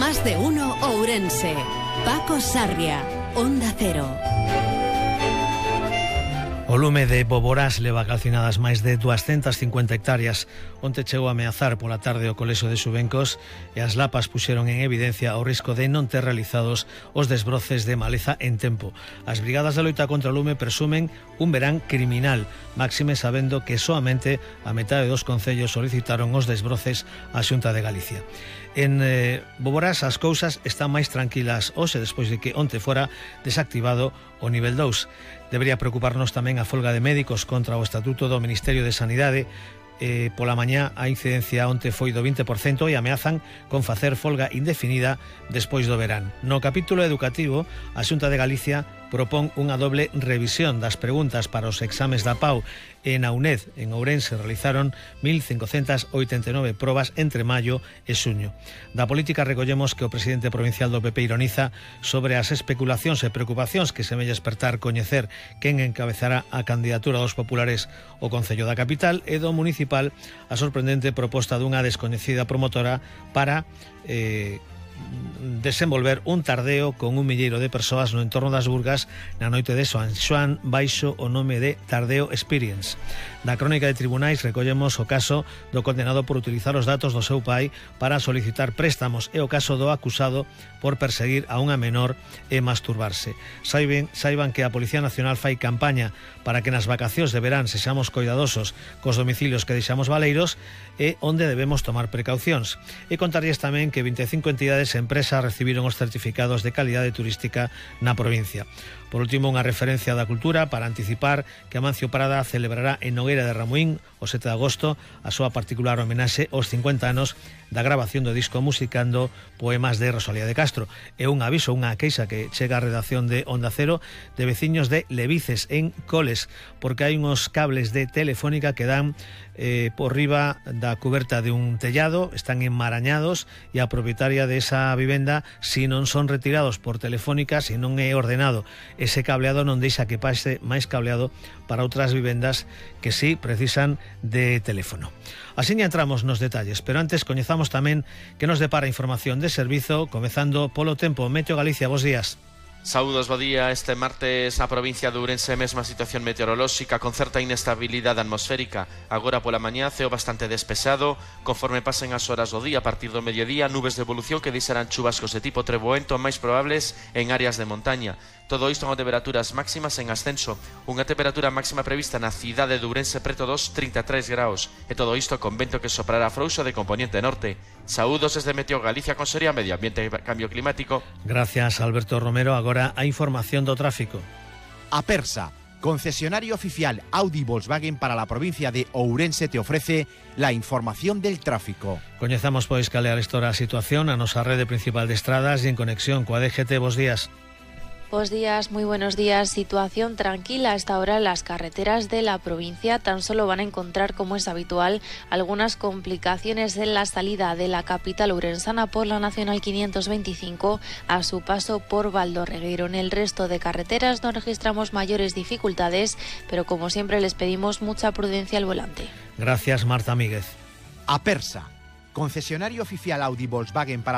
Más de uno Ourense. Paco Sarria, Onda Cero. O lume de Boborás leva calcinadas máis de 250 hectáreas. Onte chegou a ameazar pola tarde o colexo de Xubencos e as lapas puxeron en evidencia o risco de non ter realizados os desbroces de maleza en tempo. As brigadas de loita contra o lume presumen un verán criminal, máxime sabendo que soamente a metade dos concellos solicitaron os desbroces á Xunta de Galicia. En Boborás as cousas están máis tranquilas hoxe despois de que onte fora desactivado o nivel 2. Debería preocuparnos tamén a folga de médicos contra o Estatuto do Ministerio de Sanidade. Pola mañá a incidencia onte foi do 20% e ameazan con facer folga indefinida despois do verán. No capítulo educativo, a Xunta de Galicia propón unha doble revisión das preguntas para os exames da PAU e na UNED en Ourense realizaron 1.589 probas entre maio e xuño. Da política recollemos que o presidente provincial do PP ironiza sobre as especulacións e preocupacións que semella espertar coñecer quen encabezará a candidatura dos populares ao Concello da Capital e do municipal a sorprendente proposta dunha descoñecida promotora para desenvolver un tardeo con 1 milleiro de persoas no entorno das Burgas na noite de San Xoán baixo o nome de Tardeo Experience. Da crónica de tribunais recollemos o caso do condenado por utilizar os datos do seu pai para solicitar préstamos e o caso do acusado por perseguir a unha menor e masturbarse. Saiban que a Policía Nacional fai campaña para que nas vacacións de verán sexamos coidadosos cos domicilios que deixamos baleiros e onde debemos tomar precaucións. E contarlles tamén que 25 entidades e empresas recibiron os certificados de calidade turística na provincia. Por último, unha referencia da cultura para anticipar que Amancio Prada celebrará en Nogueira de Ramuín o 7 de agosto a súa particular homenaxe aos 50 anos da grabación do disco musicando poemas de Rosalía de Castro. E un aviso, unha queixa que chega á redacción de Onda Cero de veciños de Levices en Coles, porque hai uns cables de Telefónica que dan por riba da cuberta de un tellado, están enmarañados e a propietaria de esa vivenda, si non son retirados por Telefónica, si non é ordenado ese cableado, non deixa que pase máis cableado para outras vivendas que sí precisan de teléfono. Así entramos nos detalles, pero antes coñezamos tamén que nos depara información de servizo, comezando polo tempo. Meteo Galicia, bos días. Saúdos, bo día. Este martes a provincia de Ourense mesma situación meteorolóxica con certa inestabilidade atmosférica. Agora pola mañá ceo bastante despexado, conforme pasen as horas do día a partir do mediodía, nubes de evolución que deixarán chubascos de tipo treboento máis probables en áreas de montaña. Todo isto con temperaturas máximas en ascenso. Unha temperatura máxima prevista na cidade de Ourense preto dos 33 graus. E todo isto con vento que soprará frouxo de componente norte. Saúdos desde Meteo Galicia, Consellería Medio Ambiente e Cambio Climático. Gracias, Alberto Romero. Agora a información do tráfico. Apersa, concesionario oficial Audi Volkswagen para la provincia de Ourense, te ofrece la información del tráfico. Coñezamos pois cal é a situación a nosa rede principal de estradas e en conexión coa DGT. Bos días. Buenos días, muy buenos días. Situación tranquila a esta hora en las carreteras de la provincia. Tan solo van a encontrar, como es habitual, algunas complicaciones en la salida de la capital ourensana por la Nacional 525 a su paso por Valdorregueiro. En el resto de carreteras no registramos mayores dificultades, pero como siempre les pedimos mucha prudencia al volante. Gracias, Marta Míguez. Apersa, concesionario oficial Audi Volkswagen para